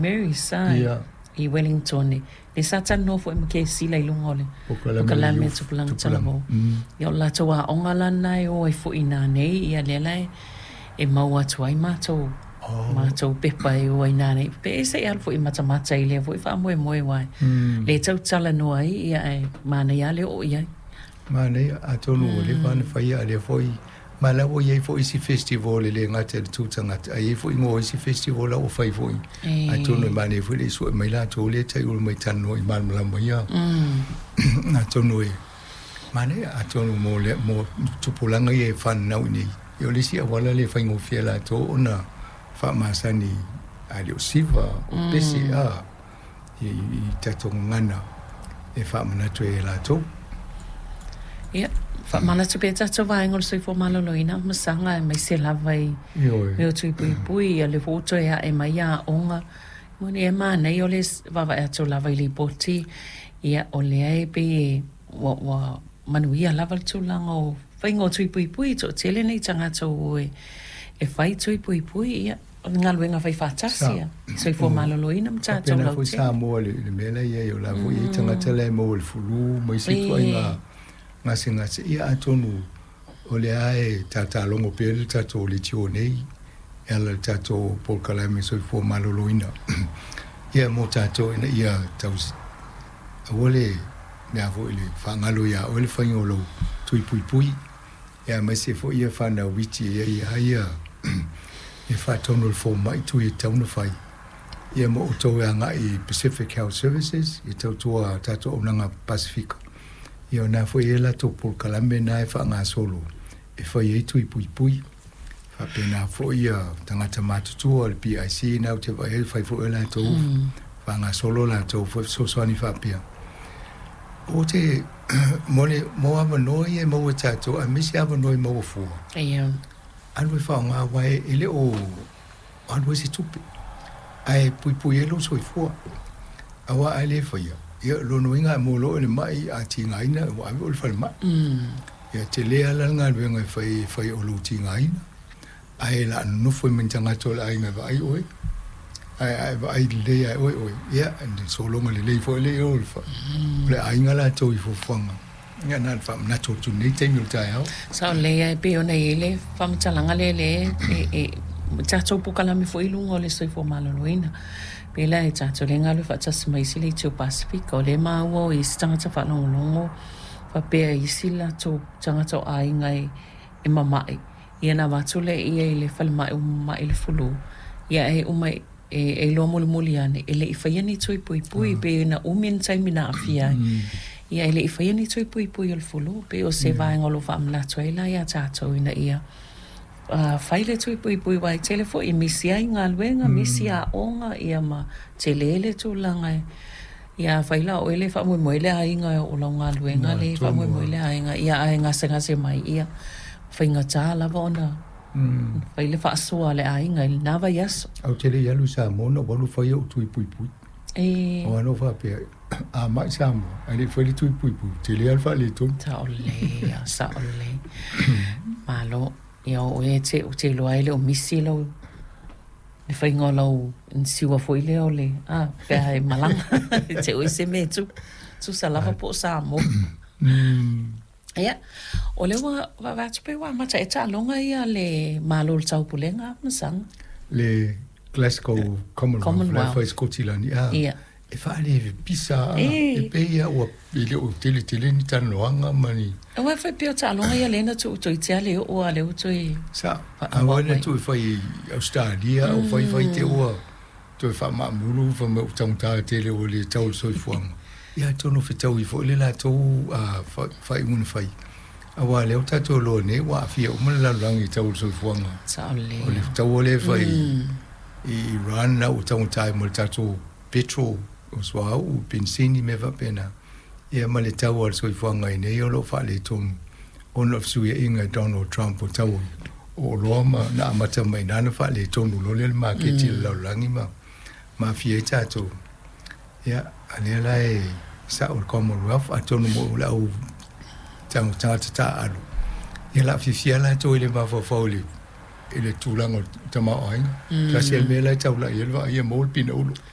Mary's i Wellington, lea sa talanoa foi ma Kesila i luga o le polokalame Tupulaga Talavou. Ia, o le latou aoga la lena e o ai foi i ina nei, ia lea la e maua atu ai matou pepa e o ai ina nei, pe se i alu foi e matamata i lea foi faamoemoe, aua lea e tau talanoa ai, ia ae manaia lava le oo i ai. Manaia, atonu ua leva ona faia, a lea foi ma la ua i ai foi isi festival e le gata i le Tu Tagata, ae i ai foi igoa o isi festival la ua fai foi. Atonu e manaia foi le i sue mai latou lea e taiulu mai talanoa i malamalama ia. Atonu e manaia, atonu mo le mo tupulaga ia e fananau i nei, ia o le isi auala lea e faigofie latou ona faamasani, a le o siva o pese a i tatou gagana e faamanatu ai e latou. Ia, faamanatu pea tatou vaega o le soifua maloloina ma saga aemaise lava i mea o tui puipui, ia lea foi ua toe ae mai aoga. Moni e manaia o le vaavaai atu lava i lipoti, ia o lea e pei e ua manuia lava le tulaga o faiga o tui puipui, toatele nei tagata ua o e fai tui puipui, ia o le galuega fai faatasi a soifua maloloina ma tatou lautele. Faapena foi Samoa i le mea la e i ai, o la foi e i ai tagata la e maua i le flu ma isi ituaiga gasegase, ia atonu o lea e tatalogo pea le tatou leitio nei e ala i le tatou polokalame soifua maloloina, ia mo tatou ina ia tausi, aua le mea foi le faagalo ia oe le faiga o lou tui puipui, ia aemaise foi ia fanau iti e i ai ia e faatonu e le fomai tui e tatau ona fai. Ia ma outou e agai i Pacific Health Services e tautua tatou auaunaga Pasefika, ia o na foi e i ai latou polokalame na e faagasolo e fai ai tui puipui. Faapena foi ia tagata matutua o le PIC na ou te vaai ai fai foi latou faagasolo latou foi fesoasoani faapea. O te mo le mo avanoa ia e maua e tatou aemaise avanoa e maua fua. Alu e faaaoga aua e le o alu ai se tupe ae puipui ai lou soifua. Aua a le faia, ia o lona uiga a maua loa le mai a tigaina ua ave oe i le falemai. Ia tele lava la le galuega e fai e fai o lou tigaina, ae o le a nonofo ai ma ni tagata o le aiga e vaai oe. Ae a e vaai lelei ia oe oe, ia e sologa lelei foi lea o le aiga latou i fuafuaga. Ia na ona faamanatu atu i lenei taimi o le taeao. Sao lelei lava e pei ona i ai le faamatalaga lea lea e tatou polokalame foi i luga o le soifua maloloina. Pei la e tatou lea e galulue faatasi ma isi leitio Pasefika, o lea e maua o isi tagata faalogologo faapea i isi latou tagata o aiga e mama'i, ia ona avatu lea i le falemai ua mama'i le flu, ia e uma e iloa mulimuli ane e le i faia ni tui puipui, pei na umi le taimi na aafia ai, ia e le i faia ni tui puipui o le flu. Pei o se vaega o lo o faamanatu ai la iā tatou ina ia fai le tui puipui, aua e tele foi e misi ai galuega, misi aoga, ia ma tele le tulaga. Ia afai la o oe le faamoemoe le aiga o lau galuega le faamoemoe le aiga, ia ae gasegase mai, ia faigata lava ona fai le faasoa a le aiga i lena vaiaso. Ae ou te le i alu i Samoa na ou alu fai ou tui puipui. Aua na ou faapea, a mai Samoa ae le i fai le tui puipui, tele lava le faaletonu. Sao lelei, sao lelei. Malo. Ia o oe ou te iloa e le o misi lau le faiga o lau inisiua foi lea o le a pe a e malaga e te oi se mea e tusa lava po o Samoa. Ia, o lea ua vaavaai atu pei ua amata ea taaloga ia a le Malo o le Taupulega ma Saga. Le Glasgow Commonwealth la e fai i Skotilani, a e faalepisa lava, e pei lava ua e le o tele tele ni talanoaga ma ni. Aua e fai pei o taaloga ia lea na tuu toeitiiti lava le oo a o lea ua toe. Sao, aua na tuu e fai i Ausetalia, o fai fai te i ua toe faamaamulu fai mai ua taugata tele ua le tau le soifuaga. Ia atonu fetaui foi le latou faaiuga na fai, aua o lea ua tatou iloa nei ua aafia uma le lalolagi i tau o le soifuaga. Sao lelei. O le taua lea e fai i Iran la ua taugata ai ma le tatou petrol, o suauu, penisini, mea faapena, ia ma le tau o le soifuaga i nei o lo o faaletonu ona o le fesuiaiga e Donald Trump o tau o oloa ma na amata mai i ina na faaletonu loa lea le maketi i le lalolagi ma aafia ai tatou. Ia, a lea la e sao le Commonwealth, atonu mo le au tagata taaalo, ia o le a fiafia latou i le mafaufau i le tulaga o le tamaoaiga. Tasi lava le mea la e taulai i ai le vaai ia maua le pinaulo.